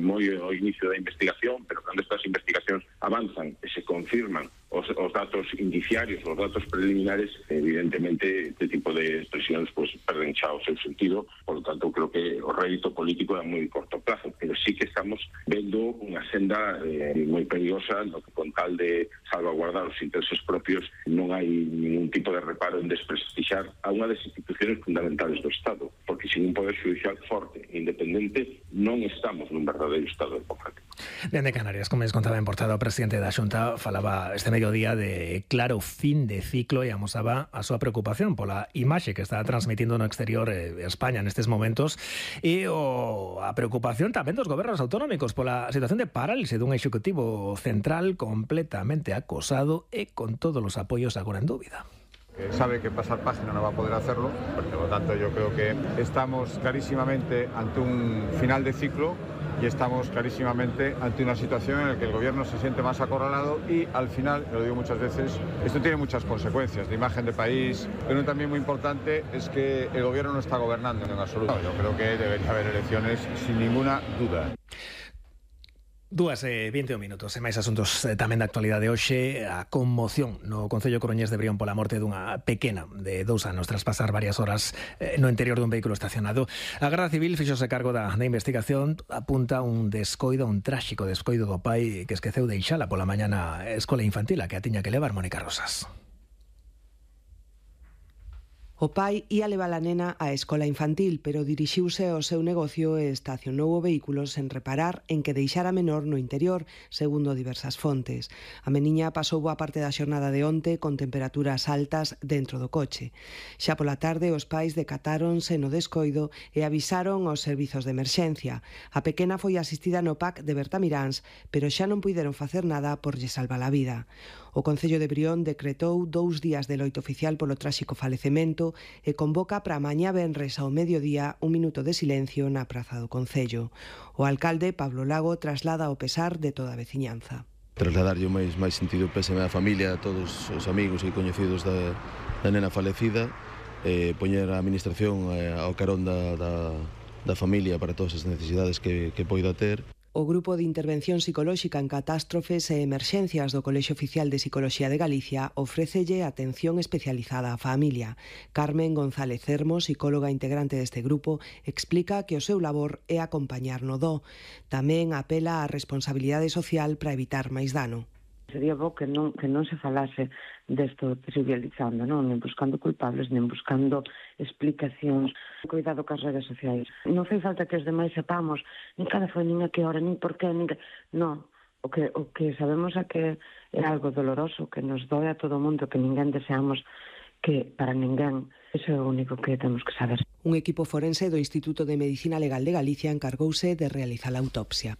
moi ao inicio da investigación, pero cando estas investigacións avanzan e se confirman os datos indiciarios, os datos preliminares, evidentemente este tipo de expresións pues, perden xa o seu sentido. Por lo tanto, creo que o rédito político é a moi corto plazo, pero sí que estamos vendo unha senda moi perigosa no que con tal de salvaguardar os intereses propios non hai ningún tipo de reparo en desprestigiar a unha das instituciones fundamentales do Estado, porque sin un poder judicial forte e independente non estamos nun verdadeiro Estado democrático. Dende Canarias, como les contaba en portada, o presidente da Xunta falaba este mediodía de claro fin de ciclo e amosaba a súa preocupación pola imaxe que está transmitindo no exterior España nestes momentos e a preocupación tamén dos gobernos autonómicos pola situación de parálise dun executivo central completamente acosado e con todos os apoios agora en dúbida. Sabe que pasar página no va a poder hacerlo, por lo tanto yo creo que estamos clarísimamente ante un final de ciclo y estamos clarísimamente ante una situación en la que el gobierno se siente más acorralado y al final, lo digo muchas veces, esto tiene muchas consecuencias de imagen de país, pero también muy importante es que el gobierno no está gobernando en absoluto. Yo creo que debería haber elecciones sin ninguna duda. 2:21 minutos, e máis asuntos tamén da actualidade hoxe. A conmoción no Concello Coruñés de Brión pola morte dunha pequena de 2 anos tras pasar varias horas no interior dun vehículo estacionado. A Garda Civil fixose cargo da investigación, apunta un tráxico descoido do pai que esqueceu deixala pola mañá na escola infantil a que a tiña que levar Mónica Rosas. O pai ia levar a nena á escola infantil, pero dirixiuse ao seu negocio e estacionou o vehículo sen reparar en que deixara a menor no interior, segundo diversas fontes. A meniña pasou boa parte da xornada de onte con temperaturas altas dentro do coche. Xa pola tarde os pais decatáronse no descoido e avisaron aos servizos de emerxencia. A pequena foi asistida no PAC de Bertamiráns, pero xa non puideron facer nada por lle salvar a vida. O Concello de Brión decretou 2 días de loito oficial polo tráxico falecemento e convoca para mañá venres ao mediodía un minuto de silencio na praza do Concello. O alcalde, Pablo Lago, traslada o pesar de toda a veciñanza. Trasladarlle o máis sentido pésame á familia, a todos os amigos e coñecidos da nena falecida, poñer a administración ao carón da familia para todas as necesidades que poida ter. O Grupo de Intervención Psicolóxica en Catástrofes e Emerxencias do Colexio Oficial de Psicología de Galicia ofrécelle atención especializada á familia. Carmen González Cermo, psicóloga integrante deste grupo, explica que o seu labor é acompañar no do. Tamén apela á responsabilidade social para evitar máis dano. Sería bo que non se falase desto trivializando, non? Nen buscando culpables, nen buscando explicacións. Cuidado cas redes sociais. Non fai falta que os demais sepamos nin cada foi, nin a que hora, nin por qué, nin que... Non. O que sabemos é que é algo doloroso, que nos doe a todo o mundo, que ninguén deseamos que para ninguén. Iso é o único que temos que saber. Un equipo forense do Instituto de Medicina Legal de Galicia encargouse de realizar a autopsia.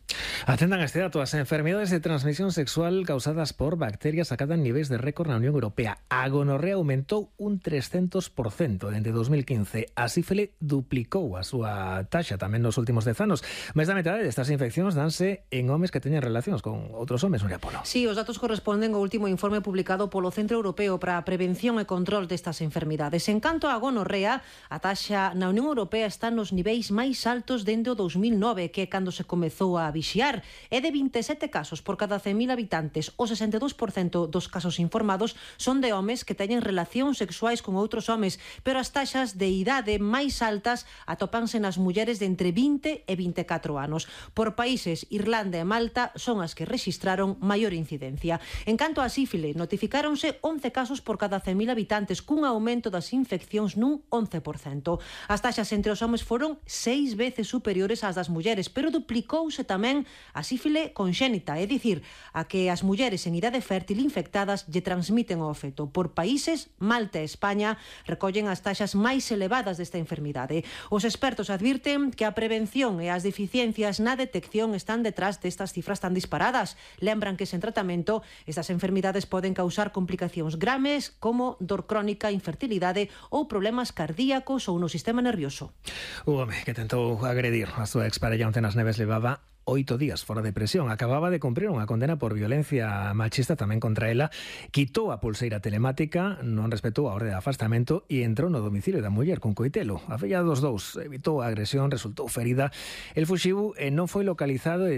Atendan a este dato, as enfermedades de transmisión sexual causadas por bacterias acadan niveis de récord na Unión Europea. A gonorrea aumentou un 300% dende 2015. A sífile duplicou a súa taxa tamén nos últimos 10 anos. Máis da metade destas infeccións danse en homes que teñen relacións con outros homes, Nuria Polo. Sí, os datos corresponden ao último informe publicado polo Centro Europeo para a Prevención e Control destas enfermidades. En canto a gonorrea, a taxa na Unión Europea está nos niveis máis altos dende o 2009, que é cando se comezou a vixiar. É de 27 casos por cada 100.000 habitantes. O 62% dos casos informados son de homes que teñen relacións sexuais con outros homes, pero as taxas de idade máis altas atópanse nas mulleres de entre 20 e 24 anos. Por países, Irlanda e Malta son as que rexistraron maior incidencia. En canto a sífile, notificáronse 11 casos por cada 100.000 habitantes, cun aumento das infeccións nun 11%. As taxas entre os homes foron 6 veces superiores ás das mulleres, pero duplicouse tamén a sífile conxénita, é dicir, a que as mulleres en idade fértil infectadas lle transmiten o feto. Por países, Malta e España recollen as taxas máis elevadas desta enfermidade. Os expertos advirten que a prevención e as deficiencias na detección están detrás destas cifras tan disparadas. Lembran que sen tratamento estas enfermidades poden causar complicacións graves como dor crónica, infertilidade ou problemas cardíacos ou no sistema nervioso. O home que tentou agredir a súa exparella onte nas Neves levaba 8 días fora de prisión. Acababa de cumprir unha condena por violencia machista tamén contra ela. Quitou a pulseira telemática, non respetou a orde de afastamento e entrou no domicilio da muller con coitelo. A filla dos dous evitou a agresión, resultou ferida. El fuxiu e non foi localizado e